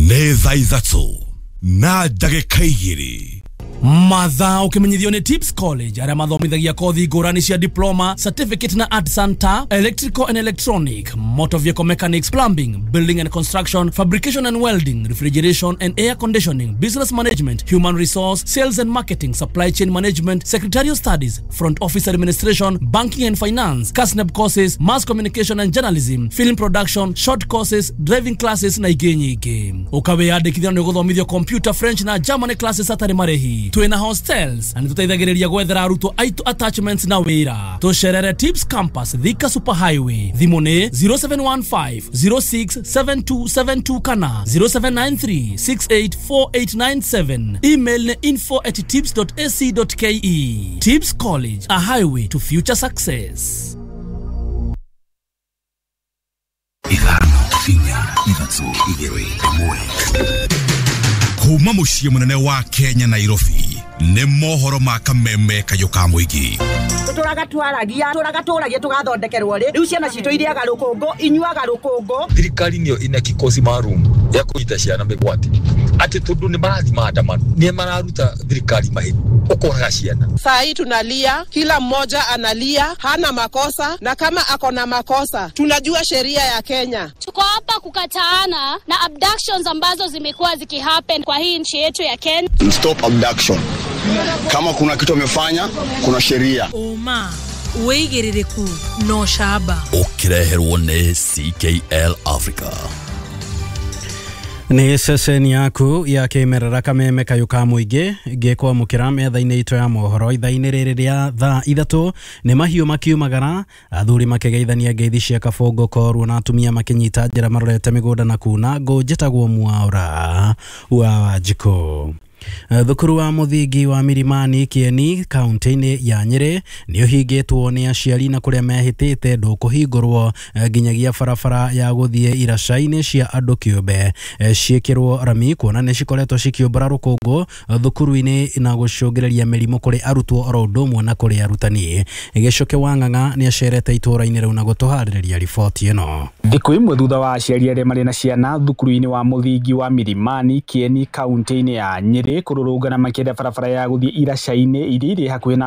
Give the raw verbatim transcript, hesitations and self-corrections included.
Nĩ thaa ithatũ na ndagĩka igĩrĩ. Mathaa ũkĩmenyithio nĩ Tips College, arĩa mathomithagia kothi ngũrani cia diploma, certificate na art center, electrical and electronic, motor vehicle mechanics, plumbing, building and construction, fabrication and welding, refrigeration and air conditioning, business management, human resource, sales and marketing, supply chain management, secretarial studies, front office administration, banking and finance, KASNEB courses, mass communication and journalism, film production, short courses, driving classes na ingĩ nyingĩ. Ũkawĩyandĩkithia nĩ ũgũthomithio computer, French na German classes hatarĩ marĩhi. Twĩna hostels na nĩtũteithagĩrĩria gwethera arutwo aitũ attachments na wĩra. Tũcerere Tips Campus, Thika Super Highway. Thimũ nĩ zero seven one five zero six seven two seven two kana zero seven nine three six eight four eight nine seven. Email nĩ info at tips dot ac dot ke. Tips College, a highway to future success. Ithano, inya, ithatũ, igĩrĩ, ĩmwe. Kuma mũciĩ mũnene wa Kenya, Nairobi, nĩ mohoro ma kameme kayũ ka mũingĩ. Tũtũraga twaragia, tũraga tũragia tũgathondekerwo rĩ, rĩu ciana citũ irĩaga rũkũngũ, inyuaga rũkũngũ. Thirikari nĩyo ina kikosi maalum ya kũnyita ciana mĩgwate, atĩ tondũ nĩ marathiĩ maandamano, nĩ mararuta thirikari mahĩtia, ũkoraga ciana. Saa hii tunalia, kila mmoja analia, hana makosa, na kama ako na makosa, tunajua sheria ya Kenya. Tuko hapa kukataana na abductions ambazo zimekuwa zikihappen kwa hii nchi yetu ya Kenya. Stop abduction. Kama kuna kitu amefanya, kuna sheria. Ũma, wĩigĩrĩrĩku na ũcamba. Ũkĩreherwo nĩ C K L Africa. Nĩ ceceni yaku ya kĩmerera kameme kayũ ka mũingĩ, ngĩkwamũkĩra metha-inĩ itũ ya mohoro ithaa-inĩ rĩrĩ rĩa thaa ithatũ. Nĩ mahiũ makiumagara, athuri makĩgeithania ngeithi cia kabũngũ korwo, na atumia makĩnyita njĩra marorete mĩgũnda na kuna ngũ. Njĩtagwo Mwaũra wa Wanjikũ. Thukuru wa mũthingi wa Milimani Kieni, kaunti-inĩ ya Nyĩrĩ, nĩ ũhingĩtwo nĩ aciari na kũrĩa mehĩtĩte ndũkũhingũrwo nginyagia barabara ya gũthiĩ iraca-inĩ cia andũ kĩũmbe ciĩkĩrwo rami, kuona nĩ cikoretwo cikĩũmbũra rũkũngũ thukuru-inĩ na gũcũngĩrĩria mĩrimũ kũrĩ arutwo oro ũndũ ũmwe na kũrĩ arutani. Gĩcoke wa Ng'ang'a nĩ acerete itũũra-inĩ rĩu na gũtũharĩrĩria riboti ĩno. Thikũ imwe thutha wa aciari arĩa marĩ na ciana thukuru-inĩ wa mũthingi wa Milimani Kieni, kaunti-inĩ ya Nyĩrĩ, kũrũrũngana makĩenda barabara ya gũthiĩ iraca-inĩ iria irĩ hakuhĩ na